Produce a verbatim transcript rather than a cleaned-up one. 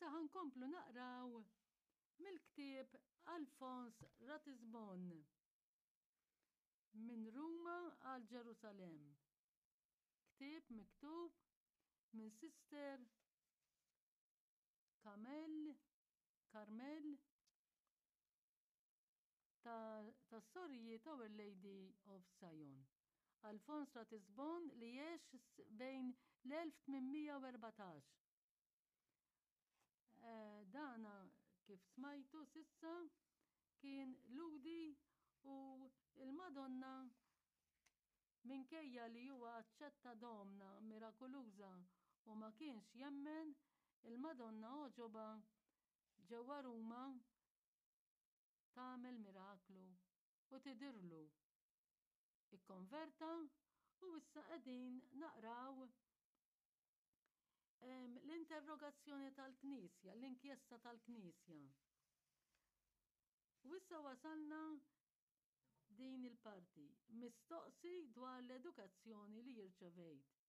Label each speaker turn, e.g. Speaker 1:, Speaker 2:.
Speaker 1: Issa ħa nkomplu naqraw mill-ktieb Alphonse Ratisbonne, Minn Ruma għal Ġerusalemm. Ktieb miktub minn Sister Kamel Carmel tas-Sorijiet Our Lady of Sion. Alphonse Ratisbonne li għex bejn l-elf tmien mija u erbatax. Eh, dana kif smajtu s'issa kien Lhudi u il-Madonna, minkejja li huwa aċċetta domna mirakoluża u ma kienx jemmen, il-Madonna għoġobha ġewwa Ruma tagħmel miraklu u tidirlu. Ikkonverta u issa qegħdin naqraw l-interrogazzjoni tal-Knisja, l-inkjesta tal-Knisja. U issa wasalna din il-parti, mistoqsi dwar l-edukazzjoni li jirċevejt.